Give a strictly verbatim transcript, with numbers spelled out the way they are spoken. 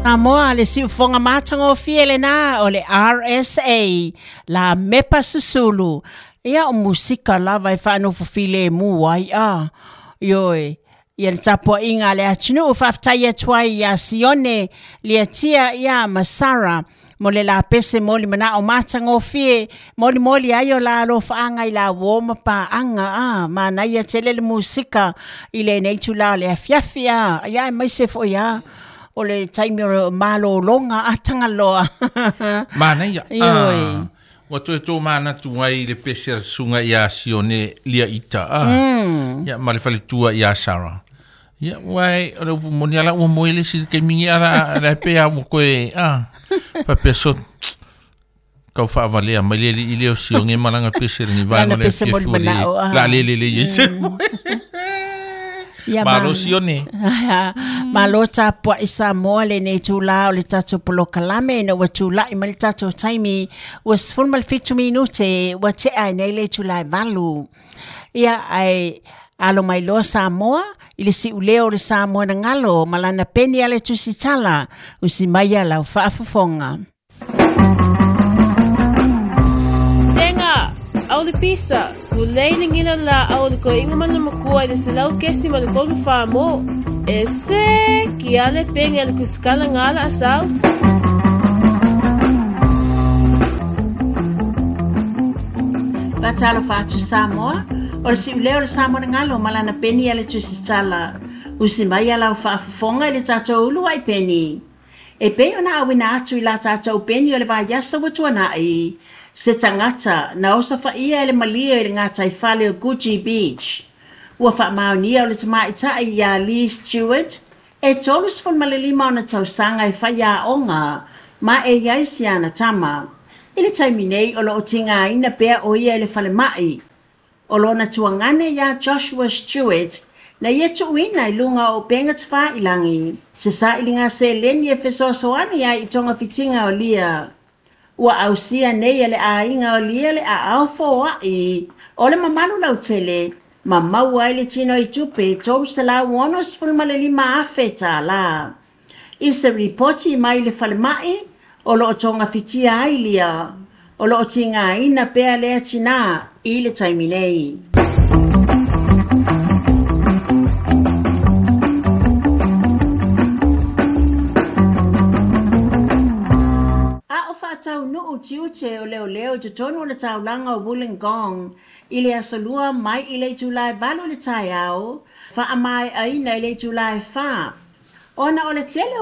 Samoa le siufoga matagofie lenā o le R S A la mepa susulu. Ia o musika lava e whaanofofile mu ai a. Ioe, ia le tapuaʻiga a le atunuu faafetai atu ai iā Sione Liatia ia ma Sara mo le lapese mo le manao matagofie molimoli ai o la alofaaga i la uō ma paaga a manaia tele le musika i lenei itulā o le afiafi a ia aemaise foʻi a o le taimi o malōlōga a tagaloa. Manaia. Ioe. Ua toe tōmanatu ai le pese a le susuga iā Sione Liaita a. Ia ma le faletua iā Sara. Ia ua e o le upu moni ala ua moe le isi le taimi ala la pe a ua koe a. Faapea so kau faavalea mai le alii lea o Sione ma lana pese lenei vaega o le afiafi ua le la le lelei ai se moe. Ia Malo Sione. Malo tapuaʻi Samoa lenei itulā o le tatou polokalame ina ua tulaʻi mai le tatou taimi ua sefulu ma le fitu minute ua teʻa ai nei le itulā e valu. Ia ae alo mai loa Samoa i le siʻuleo o le Samoa na galo ma lana peni a le tusitala usi mai ia lau faafofoga. Tenga, au le pisa, ulei le ngina la au le koiga ma le makua i le selau kesi ma le tolu fa mo. E se ki ale penge le kuskala ngala asau. Fatalo fatu Samoa, o le siʻuleo o le Samoa na galo ma lana peni a le tusitala. Usi mai ia lau faafofoga i le tatou ulu ai peni. E pei ona auina atu i la tatou peni o le vaiaso ua tuanaʻi. Se tagata na osofaʻia e le malie i le gataifale o Coogee Beach. Ua faamaonia o le tamaʻitaʻi iā Lee Stewart e tolu sefulu ma le lima ona tausaga e faiaʻoga ma e iai siana tama. I le taimi nei o loo tigāina pea o ia i le falemaʻi. O lona tuagane iā Joshua Stewart na ia tuuina i luga o upega tafailagi. Se saʻiliga seleni e fesoasoani ai i togafitiga o lia. Ua ausia nei e le aiga o lia le aao foaʻi o le mamalu lautele ma maua ai le tino i tupe tolu selau ono sefulu ma le lima afe tālā. I se ripoti mai le falemaʻi o loo togafitia ai lia. O loo tigāina pea lea tinā i le taimi nei. A o faataunuu tiute o leoleo i totonu o le taulaga o Wollongong i le asolua mai i le itulā e valu i le taeao, faamaeʻaina i le itulā e fa. Ona o le tele o